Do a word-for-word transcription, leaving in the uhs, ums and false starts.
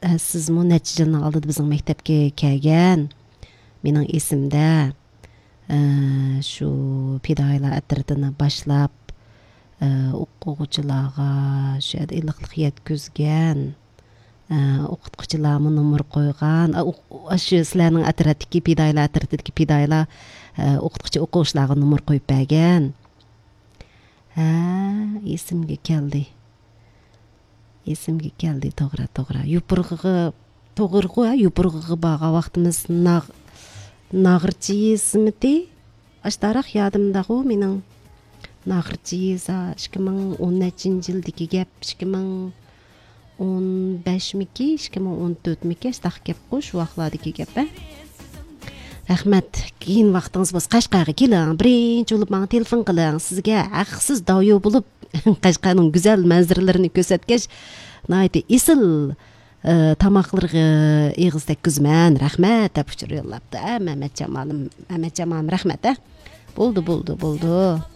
ئە، سىزمۇ نەچچە يىلنىڭ ئالدىدا بىزنىڭ مەكتەپكە كەلگەن. مېنىڭ ئېسىمدە، ئە، شۇ پىدائىيلار ئەترىتىنى باشلاپ، ئە، ئوقۇغۇچىلارغا شۇ يەردە ئىللىقلىق يەتكۈزگەن، ئە، ئوقۇتقۇچىلارمۇ نومۇر قويغان. ئا، ئوق-، ئاشۇ سىلەرنىڭ ئەترەتتىكى پىدائىيلار ئەترىتىدىكى پىدائىيلار، ئە، ئوقۇتقۇچى ئوقۇغۇچىلارغا نومۇر قويۇپ بەرگەن. ھە، ئېسىمگە كەلدى. ئېسىمگە كەلدى، توغرا، توغرا. يوپۇرغىغا، توغرىغۇ، ھە، يوپۇرغىغا بارغان ۋاقتىمىز ناغ-، ناغرىچى يېزىمىتى؟ ئاشتاراق يادىمداغۇ مېنىڭ. ناغرىچى يېزا، ئىككى مىڭ ئون نەچچىنچى يىلدىكى گەپ، ئىككى مىڭ ئون بەشمىكى، ئىككى مىڭ ئون تۆتمىكى، ئاشتاق گەپقۇ، شۇ ۋاقىتلاردىكى گەپ، ھە. رەھمەت. كېيىن ۋاقتىڭىز بولسا قەشقەرگە كېلىڭ، بىرىنچى بولۇپ ماڭا تېلېفون قىلىڭ. سىزگە ھەقسىز داۋيو بولۇپ، قەشقەرنىڭ گۈزەل مەنزىرىلىرىنى كۆرسەتكەچ، ناھايىتى ئېسىل، ئە، تاماقلىرىغا ئېغىز تەگكۈزىمەن. رەھمەت، دەپ ئۇچۇر يوللاپتۇ. ئە، مەمەتجان مالىم، مەمەتجان مالىم، رەھمەت، ئە. بولدى، بولدى، بولدى.